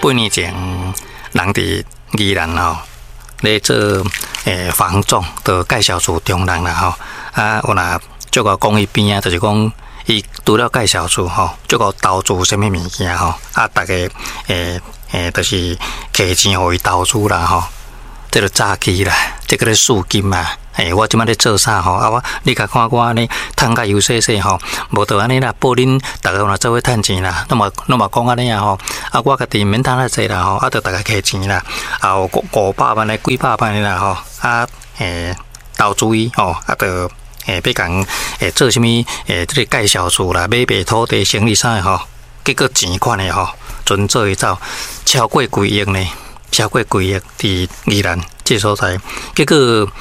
8年前，人佇宜蘭吼咧做房仲，就介紹厝中人啦吼。啊，有若足夠講伊邊仔，就是講伊除了介紹厝吼，足夠投資啥物物件吼。啊，逐家就是摕錢予伊投資啦吼。這就詐欺啦，這叫做試金啊！我這擺咧做啥吼？啊，我你較看我按呢趁甲悠細細吼，無就按呢啦，報恁逐家若做伙趁錢啦，攏嘛講按呢啊吼。啊，我家己毋免趁遐濟啦吼，啊，就逐家摕錢啦，啊，有500萬的幾百萬的啦吼，啊，投資伊吼，啊，就欲共做啥物這个介紹厝啦，買賣土地生意啥的吼，結果錢款的吼，全做伊走，超過幾億呢。超過幾億佇宜蘭這所在，結果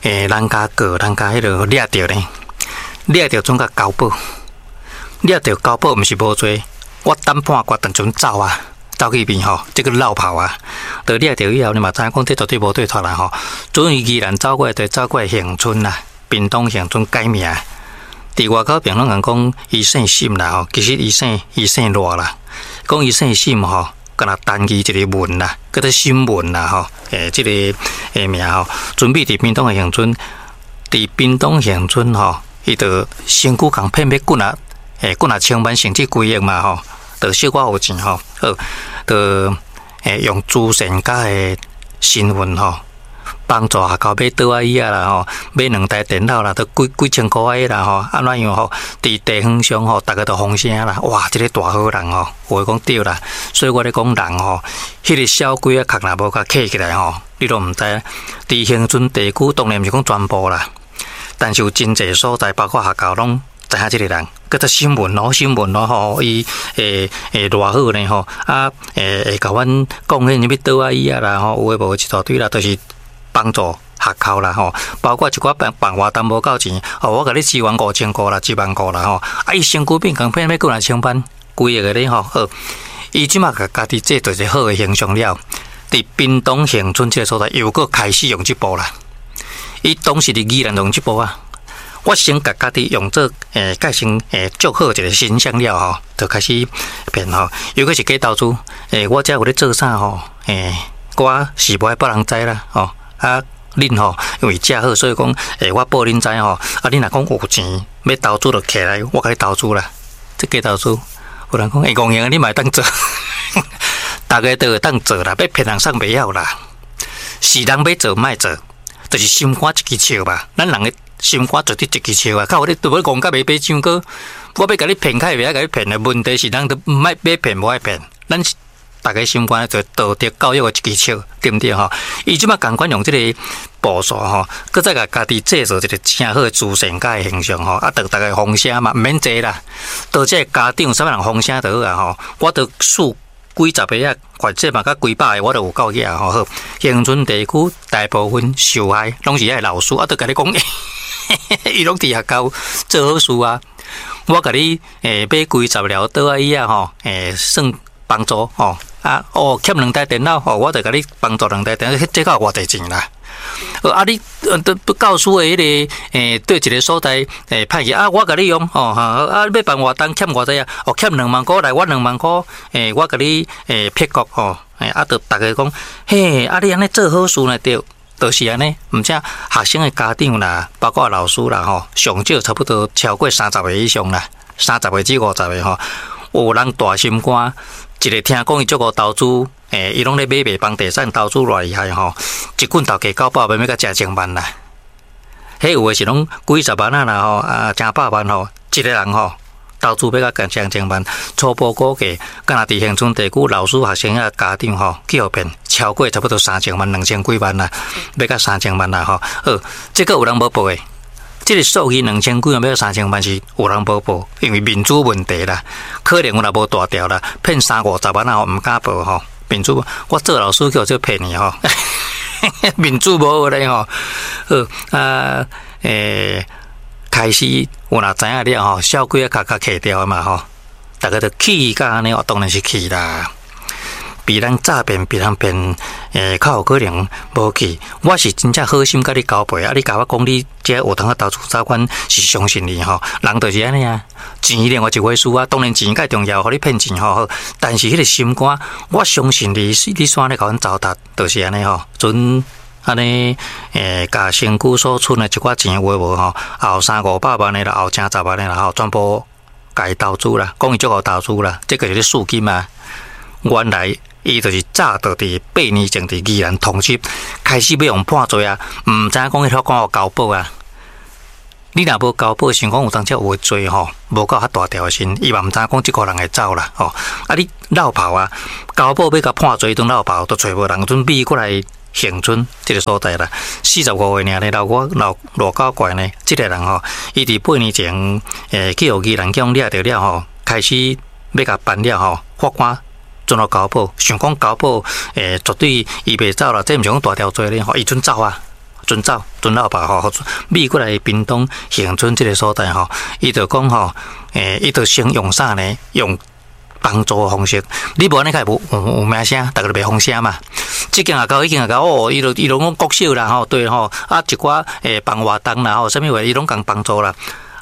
人家告，人家彼落掠著呢，掠著總共交保，掠著交保毋是無罪，我等判決當陣走啊，走去邊吼，這个落跑啊，就掠著以後，你嘛知影講這絕對無對脫啦吼。準伊宜蘭走過來，就走過來恆春啦，屏東恆春改名，佇外口評論人講伊姓沈啦吼，其實伊姓賴啦，講伊姓沈吼。敢若單字一个文啦，叫做沈文啦吼，這个名吼，準備佇屏東的恆春，佇屏東恆春吼，伊就身軀共騙欲幾若幾若千萬甚至幾億嘛吼，就小可有錢吼，好，就用慈善家的身份吼，幫助學校買桌仔椅仔啦吼，買兩台電腦啦，都幾幾千箍仔啦吼，按怎樣吼？佇地方上吼，逐家都風聲啦，哇！這个大好人吼，有的講對啦，所以我咧講人吼，彼个小鬼仔殼若無共揢起來吼，你攏毋知。佇恆春地區當然毋是講全部啦，但是有真濟所在，包括學校攏知影這个人，叫做沈文咯，沈文咯吼，伊會會偌好呢吼，啊會共阮貢獻啥物桌仔椅仔啦吼，有的無的一大堆啦，就是幫助學校啦吼，包括一寡辦辦活動無夠錢，哦，我共你支援5000箍啦，1萬箍啦吼，啊，伊身軀變共騙欲幾若千萬，幾億个咧吼，好，伊這馬共家己製造一個好的形象了，佇屏東恆春這个所在又閣開始用這步啦，伊當時佇宜蘭用這步啊，我先共家己用做蓋成足好一個形象了吼，就開始騙吼，尤其是假投資，我這有咧做啥吼，我是無愛別人知啦吼。啊，恁吼，因為遮好，所以講，我報恁知吼。啊，恁若講有錢欲投資，就揢來，我共你投資啦。這假投資，有人講，戇閒你嘛會當做，逐家都會當做啦，欲騙人送袂曉啦。是人欲做，莫做，就是心肝一支笑吧。咱人的心肝絕對一支笑啊！靠，你都欲戇甲袂爬上高，我欲共你騙，較會袂曉共你騙的問題是，人都毋愛欲騙，無愛騙，咱。逐家心肝就道德教育的一支笑，對毋對吼？伊這馬仝款用這個步數吼，閣再共家己製造一個誠好的慈善家的形象吼，啊，得逐家風聲嘛，毋免濟啦。到這個家長啥物人風聲就好啊吼，我都數幾十個啊，或者嘛較幾百個，我都有夠額吼。好，恆春地區大部分受害攏是遐老師，啊，都共你講，伊攏佇學校做好事啊。我共你買幾十條桌仔椅仔吼，算幫助吼。啊，哦，欠兩台電腦，吼，我就共你幫助兩台電腦，這夠偌濟錢啦？啊，你都教師的彼个，對一個所在，歹去啊，我共你用，吼，啊，欲辦活動欠偌濟啊？哦，欠2萬箍來，我2萬箍，我共你，撇過，吼，啊，就逐家講，嘿，啊，你按呢做好事呢，對，就是按呢，毋且學生的家長啦，包括老師啦，吼，上少差不多超過30個以上啦，30個至50個吼，有人大心肝。一个聽講伊足夠投資，伊攏咧買賣房地產投資偌厲害吼，一棍頭家九百萬欲共成千萬啦。彼有的是攏幾十萬啊啦吼，啊，成百萬吼，一個人吼投資欲共成千萬，初步估計，敢若佇恆春地區老師、學生仔家長吼，去予騙超過差不多3000萬、2000幾萬啦，欲共3000萬啦吼。好，這個有人無報的。這個數字兩千幾萬欲3000萬是有人無報，因為面子問題啦，可能有若無大條啦，騙三五十萬啊，毋敢報吼。面子，我做老師去予這騙去吼，面子無好咧吼。好啊，開始有若知影了吼，小鬼仔較較揢掉嘛吼，逐家就氣甲按呢，當然是氣啦。被人詐騙，被人騙，較有可能無去。我是真正好心共你交陪，啊，你共我講你這有通仔投資走，阮是相信你吼。人就是按呢啊，錢另外一回事啊。當然錢較重要，予你騙錢吼。但是彼個心肝，我相信你，你煞咧共阮糟蹋，就是按呢吼。陣按呢，共身軀所存的一寡錢有無吼？後三五百萬的啦，後成十萬的啦吼，全部共伊投資啦，講伊足𠢕投資啦，這個是咧試金啊。原來伊就是早就佇8年前佇宜蘭通緝，開始欲予判罪啊，毋知影講彼法官有交保啊。你若無交保，想講有當時有罪吼，無夠較大條的時，伊嘛毋知影講這個人會走啦吼。啊，你落跑啊，交保欲共判罪，陣落跑都揣無人，陣避過來恆春這个所在啦。45歲爾呢，老我老偌搞怪呢，這个人吼，伊佇八年前，去予宜蘭警掠著了吼，開始欲共辦了吼，法官準予交保，想講交保，絕對伊袂走啦，這毋是講大條罪咧吼，伊準走啊，準走，準落跑吼，避過來屏東恆春這个所在吼，伊就講吼，伊就先用啥呢？用幫助的方式，你無按呢較會無有名聲，逐家就袂風聲嘛。這間學校，彼間學校，哦，伊就講國小啦吼，對吼，啊一寡辦活動啦吼，啥物話伊攏共幫助啦。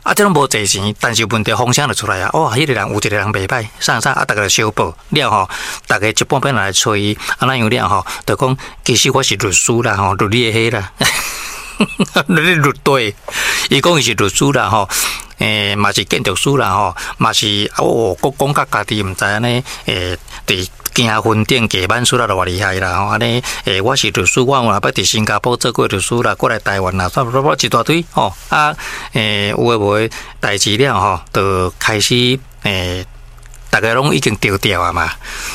啊，這攏無濟錢，但是問題風聲就出來啊！哇，彼個人有一個人袂歹，啥啥啊，逐家就相報了吼，逐家一半半來揣伊，啊怎樣了吼？就講其實我是律師啦吼，律你的彼啦，律律對，伊講伊是律師啦吼，嘛是建築師啦吼，嘛是哦，閣講甲家己毋知按呢，佇行雲頂加挽出來都偌厲害啦吼！按呢，我是律師，我有捌佇新加坡做過律師啦，過來台灣啦，煞煞一大堆吼啊！有的無的代誌了吼，就開始逐家攏已經著調啊嘛，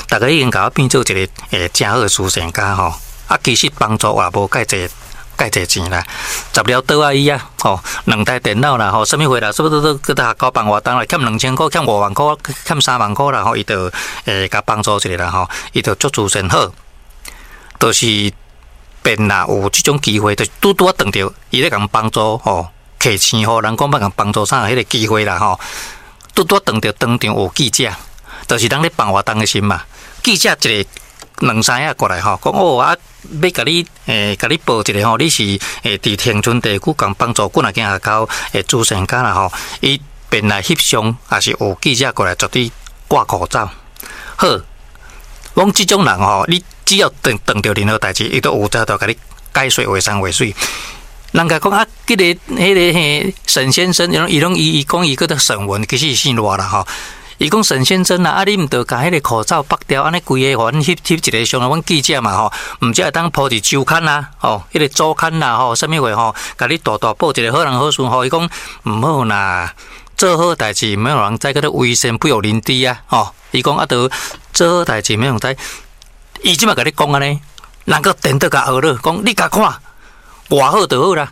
逐家已經共我變做一个誠好的慈善家吼。啊，其實幫助也無蓋濟。蓋濟錢啦，十了桌仔椅啊，吼，兩台電腦啦，吼，啥物貨啦，啥物都都閣學校辦活動啦，欠2000箍，欠5萬箍，欠3萬箍啦，吼，伊就共幫助一下啦，吼，伊就足慈善好，就是便若有這種機會，就拄拄仔撞著伊咧共幫助吼，摕錢予人講欲共幫助啥彼个機會啦，吼，拄拄仔撞著當場有記者，就是人咧辦活動的時嘛，記者一个兩三仔過來吼，講哦啊，欲共你共你報一下吼，你是佇恆春地區共幫助幾若間學校慈善家啦吼，伊便來翕相，也是有記者過來絕對掛口罩。好，講這種人吼，你只要撞撞著任何代誌，伊都有才調共你解說話山話水。人家講啊，這个彼个嘿沈先生，伊攏伊伊講伊叫做沈文，其實伊姓賴啦吼。伊講沈先生啊，啊你毋著共彼个口罩剝掉，按呢規个予阮翕翕一个相啊，阮記者嘛吼，毋才會當鋪佇週刊啊，吼，彼个周刊啦吼，啥物話吼，共你大大報一个好人好事吼。伊講毋好啦，做好代誌毋免予人知，叫做為善不欲人知啊，吼。伊講啊，著做好代誌毋免予人知。伊這擺共你講按呢，人閣顛倒共學了，講你共看，偌好就好啦，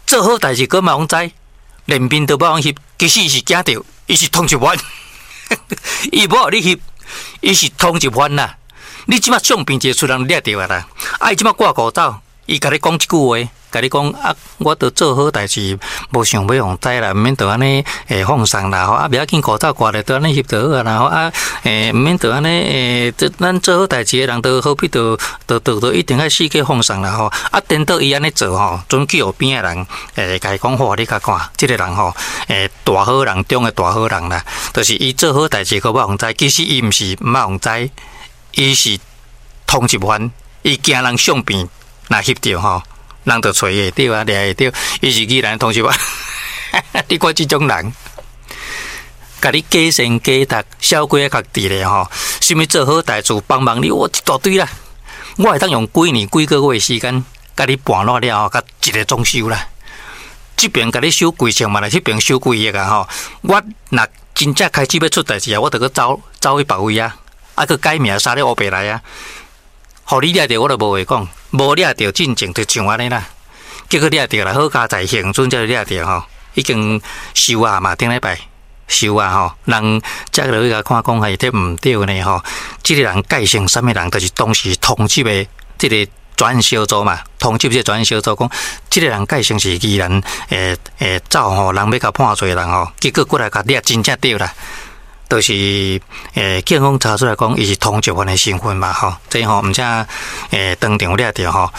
做好代誌閣嘛予人知，連面都無予人翕，其實伊是驚著，伊是通緝犯。伊無予你翕，伊是通緝犯啦。你這擺相片一个出人掠著啊啦。啊，伊這擺掛口罩，伊共你講這句話，共你講啊，我著做好代誌，無想欲予人知啦，毋免著按呢放鬆啦吼。啊，袂要緊，口罩掛咧，著按呢翕就好啊啦吼。啊，毋免著按呢咱做好代誌的人，著何必著著著著一定愛四界放鬆啦吼。啊，顛倒伊按呢做吼，陣去予邊的人共伊講好，你較看，這个人吼，大好人中的大好人啦，就是伊做好代誌，閣無予人知。其實伊毋是毋愛予人知，伊是通緝犯，伊驚人相片若翕著吼，人就揣會著啊，掠會著，伊是宜蘭通緝犯。你看這種人，共你假善假讀，小鬼仔較佇咧吼，啥物做好代誌幫忙你，我一大堆啦。我會當用幾年幾個月時間，共你盤爛了後，共一个裝修啦。這邊共你收幾千萬啦，彼邊收幾億啊吼。我若真正開始欲出代誌啊，我著閣走走去別位啊，啊閣改名啥咧烏白來啊。予你掠著，我就無話講；無掠著，進前就像按呢啦。結果掠著啦，好佳哉恆春才掠著吼，已經收啊嘛，頂禮拜收啊吼，人才落去共看講係這毋對呢吼。這个人改成啥物人，就是當時通緝的這个專案小組嘛，通緝這個專案小組講，這个人改成是宜蘭走吼，人欲共判罪的人吼，結果過來共掠真正對啦。就是警方查出來講，伊是通緝犯的身份嘛吼，這吼毋才當場掠著吼，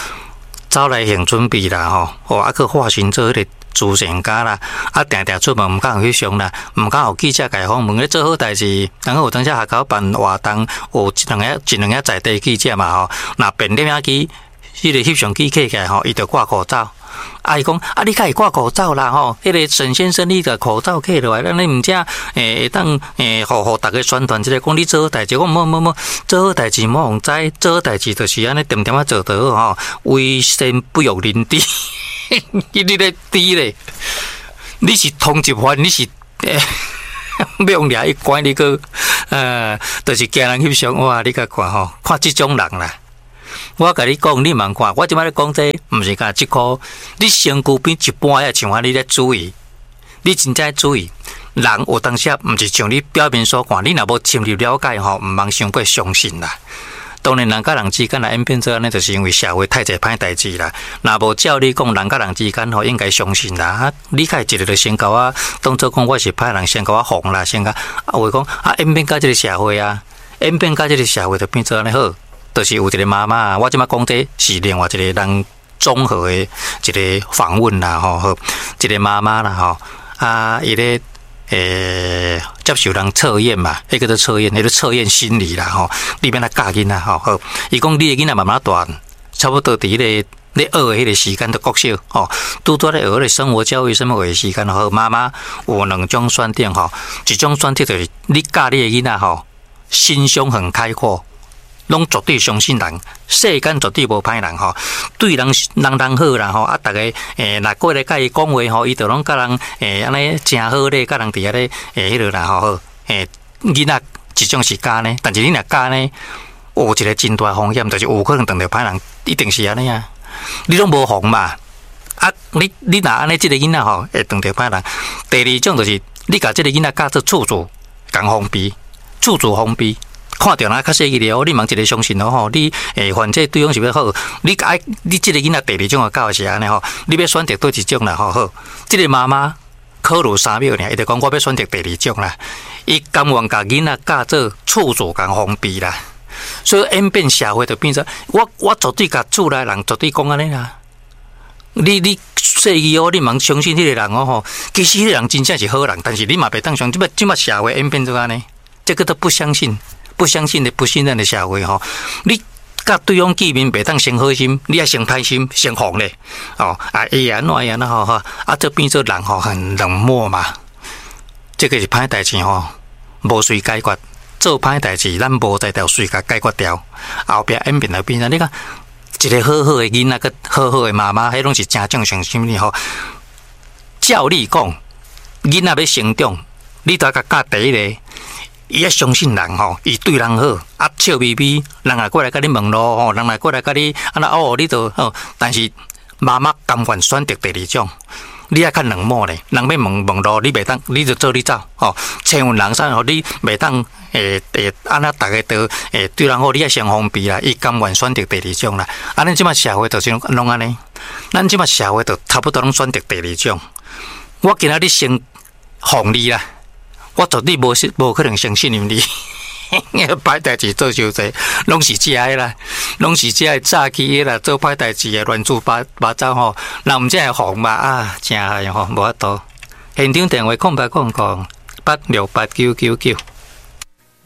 走來行準備啦吼，哦啊閣化身做彼個慈善家啦，啊定定出門毋敢翕相啦，毋敢予記者共訪問咧做好代誌，然後有當時學校辦活動，有一兩个一兩个在地記者嘛吼，若變攝影機，彼個翕相機起來吼，伊就掛口罩。啊！伊講啊，你較會掛口罩啦吼！彼個沈先生，你共口罩摘落來，咱你毋才會當予逐家宣傳一下，講你做好代誌。我無無無，做好代誌無人知，做好代誌就是按呢恬恬仔做就好吼。為善不欲人知，你咧知咧？你是通緝犯，你是欲予掠去關你閣就是驚人翕相哇！你共看吼，看這種人啦。我共你講，你茫看，我這擺咧講這個，毋是干這箍，你身軀邊一般的像按呢，你咧注意，你真正注意，人有當時毋是像你表面所看，你若無深入了解吼，毋通傷過相信啦。當然，人佮人之間來演變做按呢，就是因為社會太濟歹代誌啦。若無照理講，人佮人之間吼應該相信啦。啊，你較會一个就先共我當做講我是歹人，先共我防啦，先共啊話講啊演變到這个社會啊，演變到這个社會就變做按呢好。就是有一個媽媽，我這擺講這是另外一個人綜合的一個訪問啦，吼，好，一個媽媽啦，吼，啊，伊咧接受人測驗嘛，彼個叫做測驗，彼個測驗心理啦，吼，你欲按怎教囡仔，吼，好，伊講你的囡仔慢慢大漢，差不多佇彼個咧學的彼個時間，就國小，吼，拄拄咧學彼個生活教育啥物的時間，好，媽媽有兩種選擇，吼，一種選擇就是你教你的囡仔，吼，心胸很開闊。攏絕對相信人，世間絕對無歹人吼，對人人人好啦吼，啊，逐家若過來佮伊講話吼，伊就攏佮人按呢誠好咧，佮人佇遐咧彼落啦吼好，囡仔一種是教呢，但是你若教呢，有一個真大風險，就是有可能碰著歹人，一定是按呢啊，你攏無防嘛，啊，你若按呢，這个囡仔吼會碰著歹人。第二種就是你共這个囡仔教做處處共防備，處處防備。看著人較細個了，你茫一个相信咯吼。你反正對方是欲好，你愛你這个囡仔第二種的教是按呢吼，你欲選擇佗一種啦吼好。這个媽媽考慮3秒爾，伊就講我欲選擇第二種啦。伊甘願共囡仔教做處處共防備啦，所以演變社會就變做我絕對共厝內人絕對講按呢啦。你細個哦，你茫相信彼個人哦吼，其實彼個人真正是好人，但是你嘛袂當相信。這擺社會演變做按呢，這个都不相信。不相信的、不信任的社會吼，你佮對方見面袂當先好心，你愛先歹心、先防咧哦。啊，會按怎樣吼吼，啊，這變做人吼很冷漠嘛。這个是歹代誌吼，無隨解決，做歹代誌，咱無才調隨共解決掉。後壁演變來變啥？你看一个好好的囡仔，佮好好的媽媽，彼攏是誠正常心理吼。照理講，囡仔欲成長，你著共教第一个。伊愛相信人吼，伊對人好，啊笑眯眯，人若過來共你問路吼，人若過來共你按怎哦，你就哦。但是媽媽甘願選擇第二種，你愛較冷漠咧，人欲問問路，你袂當，你就做你走吼。千問人啥吼，你袂當會按怎逐家都會對人好，你愛先防備啦。伊甘願選擇第二種啦。啊，咱這擺社會就是攏按呢，咱這擺社會就差不多攏選擇第二種。我今仔日先防你啦。我絕對無信，無可能相信任你。歹代誌做傷濟，攏是這个啦，攏是這个早期的啦，做歹代誌的亂七八八糟吼，人毋才會防嘛啊，誠害吼，無法度。現場電話0800868999。